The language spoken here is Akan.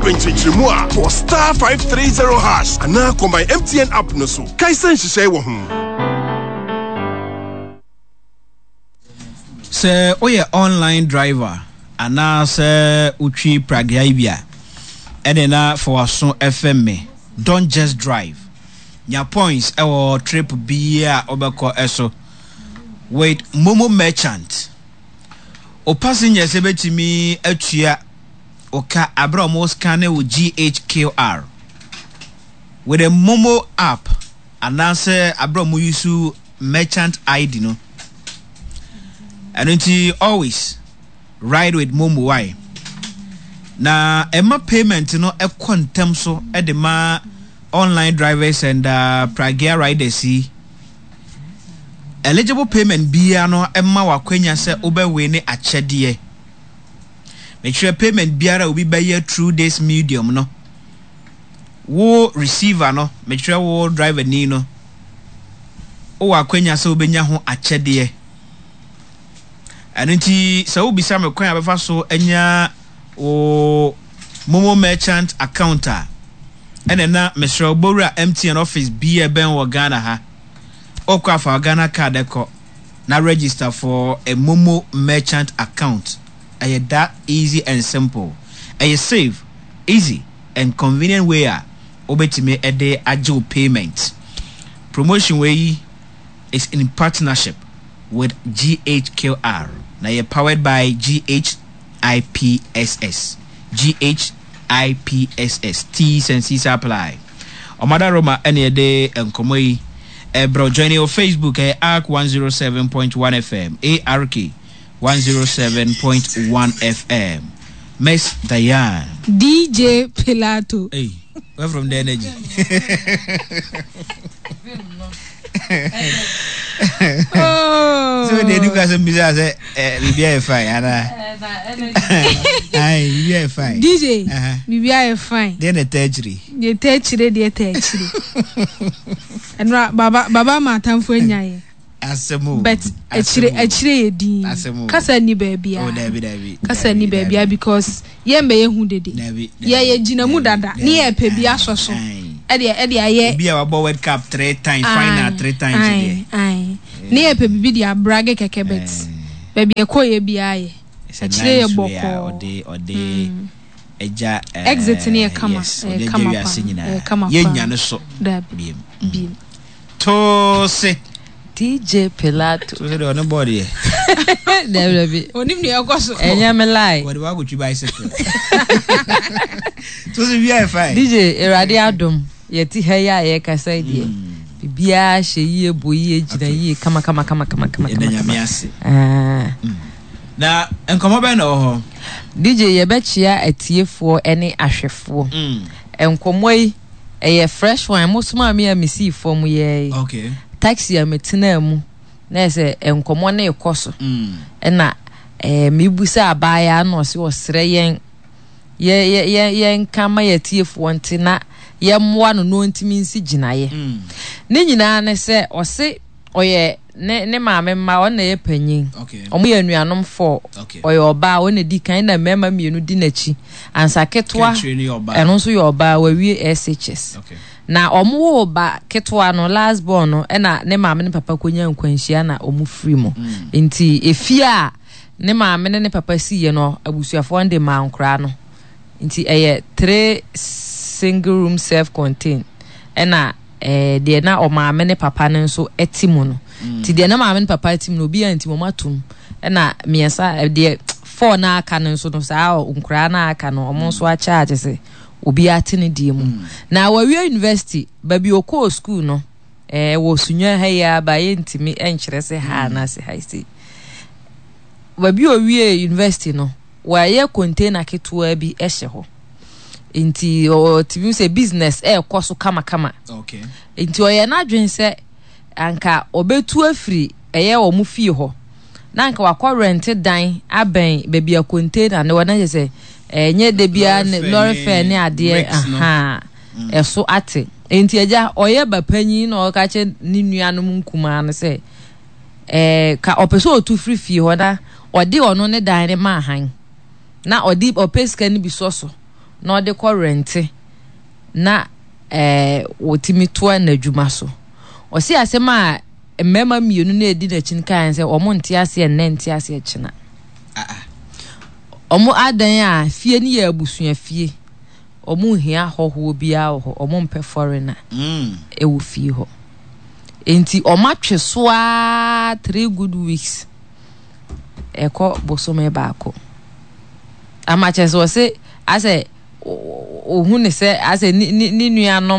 Pɛ nkyerɛkyerɛmu a, kɔ *530# anaa kɔ My MTN app no so. Kae sɛ nhyehyɛe wɔ ho. Sɛ woyɛ online driver anaasɛ wotwi pragea yi bi a, ɛne na fa w'aso fɛm me. Don't just drive. Nya points wɔ trip biara a wobɛkɔ so with Momo Merchant. Wo passengers bɛtumi atua wo ka aberɛ a wɔn scanne wo GHQR with a Momo app anaasɛ aberɛ a wɔn use merchant ID no. Ɛno nti always ride with Momo why? Na ɛma payment no ɛkɔ ntɛm so de ma online drivers and uh, Pragea riders yi. Eligible payment biara no ɛma wakwanya sɛ wobɛwe ne akyɛdeɛ. Mekyerɛ payment biara a obi bɛyɛ through this medium no, wo receiver no, mekyerɛ wo driver ni no, wowɔ akwanya sɛ wobɛnya ho akyɛdeɛ. Ɛno nti sɛ wobisa me kwan a bɛfa so anya wo Momo merchant account a, ɛna na mesrɛ wo bɔwura MTN office bi a ɛbɛn wɔ Ghana ha. Wokɔ afa Ghana card kɔ. na register for a momo merchant account ɛyɛ that easy and simple ɛyɛ safe easy and convenient way a wobɛtumi ɛde agye wo payment promotion wei yi is in partnership with GHQR na yɛ powered by GHIPSS GHIPSS T's and C's apply Ɔmada Roma ɛne ɛde nkɔmɔ yi Ɛbrɛ join yɛ wɔ Facebook ɛyɛ ARK 107.1 FM ARK 107.1 FM Miss Diane. DJ Pilato. Hey, where from the energy? Oh. So they do guys bisa sɛ eh bibi ayɛ fine ana. Ai bibi ayɛ fine. DJ bibi ayɛ fine. Deɛ na ɛtɛ akyire. Deɛ ɛtɛ akyire deɛ ɛtɛ akyire. Ɛnora baba baba ma atamfo anya yɛ. Asɛm o. But akyire akyire yɛ din. Asɛm o. Kasa ni baabi a. Oh dabi dabi. Kasa ni baabi a because yɛn bɛ yɛ hu dede. Dabi. Yɛ yɛ gyina mu dada ne yɛ pɛ bi asɔ so. Ɛde ɛde ayɛ. Obi a wabɔ World Cup three times final three times deɛ. Ayi ne yɛ pɛ bibi de abrage kɛkɛ but baabi ɛkɔ yɛ biara yɛ. Akyire yɛ bɔkɔɔ. Ɔde ɔde. Agya eh, Exit no yɛ kama, yes, ɛyɛ ɔde agya kama wiase paa, nyinaa. ɛyɛ kama paa. Yɛnnya no so Dabi, biem. biem. Toose. DJ Pilato. Toose deɛ ɔne bɔɔl deɛ. Dabi dabi. Onim nea ɛkɔ so. Ɛnyɛ me lie. Wɔde wakɔtwi bicycle. Toose bi ayɛ fine. DJ Awurade adom yɛte ha yi a yɛkasa yi deɛ biribiara hyɛ yie bɔ yie gyina yie kama kama kama kama kama Yɛda kama. Nyame ase. Ah. Na nkɔmmɔ bɛn na ɛwɔ hɔ? DJ, Yɛbɛkyea atiefoɔ ne ahwɛfoɔ. Nkɔmmɔ yi, ɛyɛ fresh one. Mosomaa me a mesii fam yɛɛ yi. Okay. Taxi a metenaa mu, na ɛyɛ sɛ nkɔmmɔ no rekɔ so. Ɛna eh, mebusa abaayaa na ɔse ɔsrɛ yɛn yɛ yɛ yɛ yɛnka ma yɛatiefoɔ nte na yɛmmoa no na ɔntumi nsi gyinaeɛ. Ne nyinaa ne sɛ ɔse ɔyɛ ne ne maame mma ɔno na ɛyɛ panyin wɔn yɛ anuanom fɔ ɔyɛ ɔbaa ɔno na di kan na mmarima mmienu di n'akyi ansa ketewa ɛno nso yɛ ɔbaa wawie SHS na wɔn wo ba ketewa no last born no ɛna ne maame ne papa konya nkwanhyia na wɔn firi mu mm. nti efie a ne maame ne ne papa si yɛ no abusuafoɔ no de maa nkoraa no nti ɛyɛ three single room self contained ɛna. eh, deɛ na ɔmaame ne papa no nso te mu no mm. nti deɛ na maame ne papa te mu no obiara nti wɔn atum ɛna mmiɛnsa eh, deɛ four na aka no nso no saa nkoraa na aka no wɔn nso akyɛ akyɛ sɛ obiara te ne deɛ mu mm. na wɔawie university baabi okɔɔ school no eh, wɔ sunwa ha yi aba yɛntumi nkyerɛ sɛ ha mm. anaasɛ ha yi baabi owie university no wɔayɛ container ketewa bi hyɛ hɔ nti ɔtumi sɛ business ɛrekɔ so kamakama okay. nti ɔyɛ n'adwene sɛ anka ɔbɛtu afiri ɛyɛ wɔn fie hɔ na anka wakɔ rɛnte dan abɛn baabi a container ne wɔ na kyerɛ sɛ ɛnyɛ de biara ne lɔre fɛ ne adeɛ ahaa mm. ɛso ate nti agya ɔyɛ ba panyin na ɔka kyerɛ ne nuanom nkumaa no sɛ ɛɛ ka ɔpɛ sɛ ɔtu firi fie hɔ na ɔde ɔno ne dan ne ma ahan. na ɔde ɔpɛ sika no bi sɔ so. na ɔde kɔ rɛnte na ɛɛ wɔtumi toa n'adwuma so. Ɔse asɛm a mmarima mmienu no a ɛdi n'akyi no kaeɛ sɛ wɔn nte aseɛ nnɛ nte aseɛ kyena. Wɔn adan a fie no yɛ abusua fie. Wɔn nhia hɔhoɔ biara wɔ hɔ. Wɔn mpɛ foreigner mm. ɛwɔ fie hɔ. Nti wɔn atwe so ara three good weeks ɛkɔ bosome baako. Ama kyerɛ sɛ wɔse asɛ ohun ne sɛ asɛ ne ne ne nuanom.